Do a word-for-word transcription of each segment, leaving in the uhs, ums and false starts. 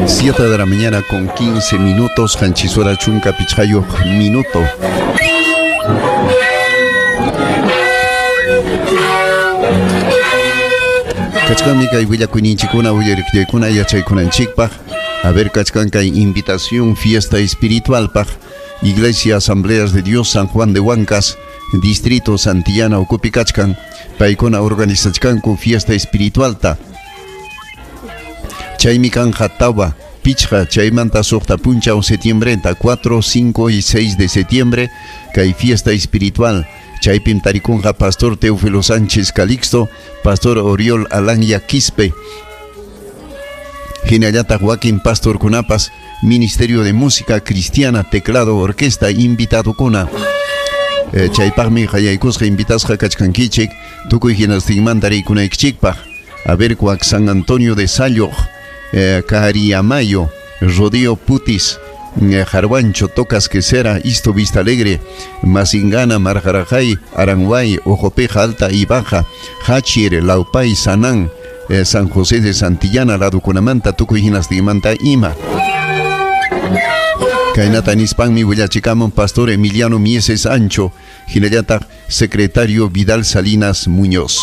Siete de la mañana con quince minutos, qanchis hora chunka pichqayuq minuto. Kachkanmi kay willakuyninchikkuna uyariqllaykuna yachaykunanchikpaq. A ver, kachkan kay invitación fiesta espiritualpaq. Iglesia Asambleas de Dios San Juan de Huancas, Distrito Santillana ukupi kachkan. Paykuna organizachkanku fiesta espiritualta. Chaymi kanja tawa, pichqa, chaymanta suqta punchaw septiembrenta, cuatro, cinco y seis de septiembre, kay fiesta espiritual. Chaypim tarikunqa Pastor Teófilo Sánchez Calixto, Pastor Oriol Alanya Quispe, hinallataq wakin pastorkunapas, Ministerio de Música Cristiana, Teclado, Orquesta, invitadukuna. Eh, chaypaqmi qayaykusqa invitasqa kachkankichik, tukuy hinastinmanta rikunaykichikpaq. A ver, kuak San Antonio de Sayoq, eh, Cariamayo, Rodeo Putis, eh, Jarwancho, Tocas Quesera, Isto Vista Alegre, Masingana, Marjarajay, Aranguay, Ojopeja Alta y Baja, Hachir, Laupay, Sanán, eh, San José de Santillana, ladukunamanta, tukuy hinastinmanta ima. Kaynata nispanmi willachikamun Pastor Emiliano Mieses Ancho, hinallataq Secretario Vidal Salinas Muñoz.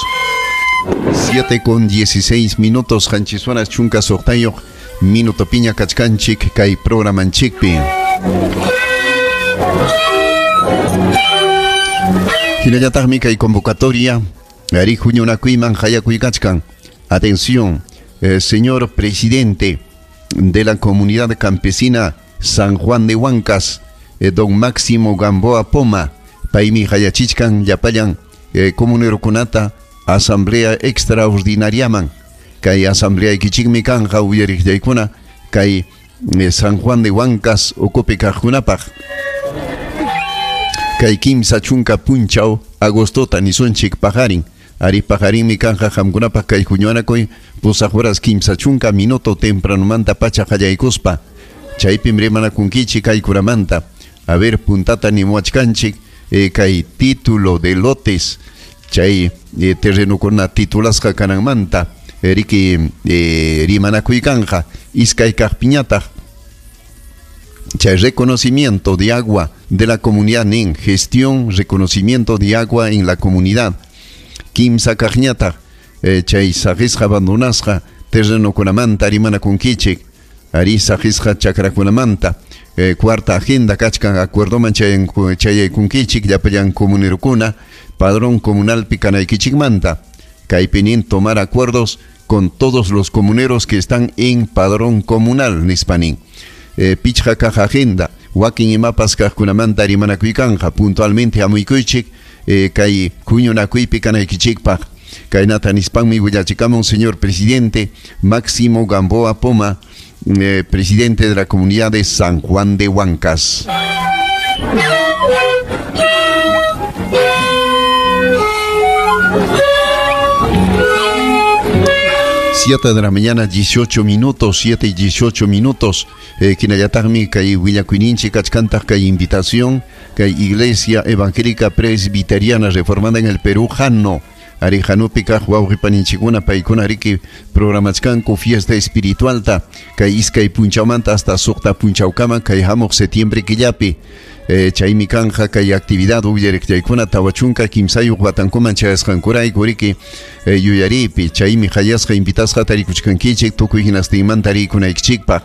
Siete con dieciséis minutos, qanchis horas chunka suqtayuq minuto piña kachkanchik kay programanchikpi. Hinallataqmi kay convocatoria ari huñunakuyman hayakuykachkan. Atención, eh, señor presidente de la comunidad campesina San Juan de Huancas, eh, don Máximo Gamboa Poma, paymi hayachichkan llapallan eh, comunerokunata asamblea extraordinariaman. Kay asamblea ikichikmi kanja uyariqllaykuna kay eh, San Juan de Huancas ukupi kaqkunapaq. Kay kimsa chunka punchaw agostota nisunchik paqarin. Ari paqarinmi kanja qamkunapaq kay huñunakuy pusaq horas kimsa chunka minuto tempranumanta pacha qallaykuspa. Chaypim rimanakunkichik kaykuramanta. A ver, puntata nimuachkanchik eh, kay título de lotes chay eh, terrenukuna titulasqa kananmanta riki eh, rimanakuykanja iskay kaqpiñataq chay reconocimiento de agua de la comunidad nin gestión reconocimiento de agua en la comunidad kimsa kaqñataq eh, chay saqisqa abandonasqa terrenukunamanta rimanakunkichik ari saqisqa chakrakunamanta. Eh, cuarta agenda kachkan acuerdoman chayaykunkichik llapallan comunerukuna padrón comunal pikanaykichikmanta. Kaypi nin tomar acuerdos con todos los comuneros que están en padrón comunal nispanin. Eh, pichqa kaq agenda wakin imapas kaqkunamanta rimanakuykanqa puntualmente hamuykuychik eh, kay huñunakuypi kanaykichikpaq. Kaynata nispanmi willachikamun señor presidente Máximo Gamboa Poma, eh, presidente de la comunidad de San Juan de Huancas. Siete de la mañana, dieciocho minutos, siete y dieciocho minutos. Eh, Kinayataqmi kay willakuyninchik kachkantaq kay invitación kay Iglesia Evangélica Presbiteriana Reformada en el Perú, Jano. Ari Janupi kaq wawqipaninchikkuna paykuna riki programachkanku fiesta espiritualta kay iskay punchawmanta hasta suqta punchawkama kay hamuq septiembre killapi. Eh, chaymi kanja kay actividad uyariqllaykuna tawa chunka kimsayuq watankuman chayasqankurayku riki eh, yuyaripi chaymi hayasqa invitasqa tarikuchkankichik tukuy hinastinmanta rikunaykichikpaq.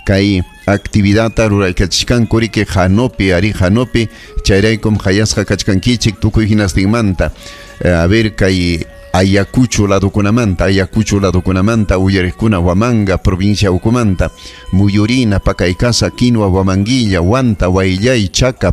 Kay actividadta ruraykachishkanku riki Janopi ari Janopi chayraykum hayasqa kachkankichik tukuy hinastinmanta. Eh, a ver kay Ayacucho ladukunamanta, Ayacucho ladukunamanta uyariqkuna Huamanga provincia ukumanta, Muyurina, Pacaycasa, Quinua, Huamanguilla, Huanta, Huayllay, Chaca,